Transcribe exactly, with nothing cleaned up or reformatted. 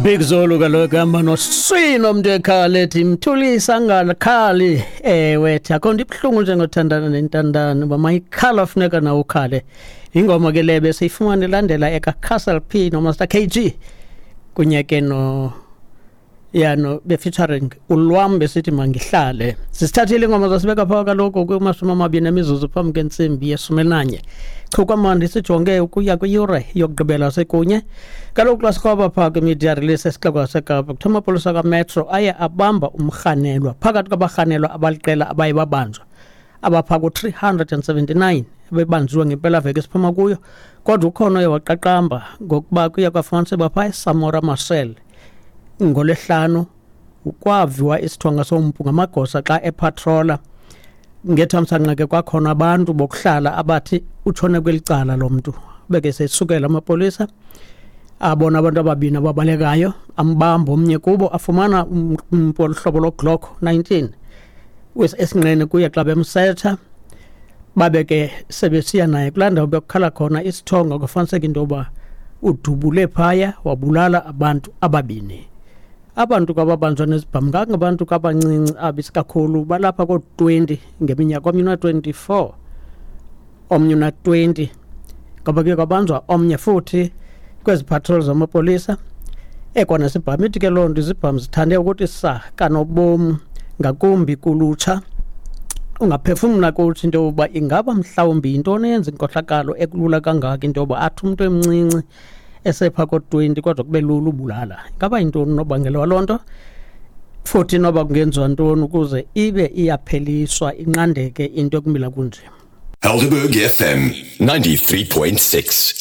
Big Zulu kaloku hamba noswino umntu ekhala ethi mthulisa angakhali. Ewe, thi akho nto ibuhlungu njengothandana nentandane, uba mayikhala funeka nawe ukhale. Ingoma ke le besiyifumana ilandela eka-Castle P noMaster K G kunye ke no ya no be-featuring ulwam, besithi mangihlale. Sisithathile ingoma zasibeka phaa kaloku kumashumi amabini emizuzu phambi kwentsimbi yeshumi elinanye. Chukwamandi sijonge ukuya kwiyure yokugqibela sekunye. Kaloku xa sikroba phaa kwi-media release esixeko saseKapa, kuthiwa amapolisa kaMetro aye abamba umrhanelwa phakathi kwabarhanelwa abaliqela abaye babanjwa, abaphaa ku-three hundred and seventy-nine bebanjiwe ngempelaveki esiphuma kuyo, kodwa ukhona oye waqaqamba ngokuba kuye kwafumaniseka phaa eSamora Machel ngolwesihlanu kwaviwa isithonga sompu ngamagosa xa epatrola. Ngethamsanqa ke kwakhona abantu bokuhlala abathi utshone kweli cala lo mntu, beke sesukela amapolisa abona abantu ababini ababalekayo, ambamba omnye kubo, afumana umpu oluhlobo loGlock nineteen esinqeni kuye. Xa bemsetsha babe ke sebesiya naye kulaa ndawo bekukhala khona isithonga, kwafumaniseka into yoba udubule phaya wabulala abantu ababini. Abantu kwababanjwa nezibhamu ngangabantu kabancinci abisikakhulu, balapha koo-twenty ngeminyaka, omnye una-twenty-four, omnye una-twenty, ngoba kuye kwabanjwa omnye futhi kwezi patrol zamapolisa ekwanesibhamu. Ithi ke loo nto izibhamu zithande ukuthi sa kanobom ngakumbi kulutsha. Ungaphefumla kuthi into yokuba ingaba mhlawumbi yintoni eyenza inkohlakalo ekulula kangaka, into yoba athi umntu emncinci esepha ko-twenty kodwa kube lula ubulala. Ingaba yintoni unobangela waloo nto, futhi noba kungenziwa ntoni ukuze ibe iyapheliswa, inqandeke into ekumila kunje? Helderberg F M ninety-three point six.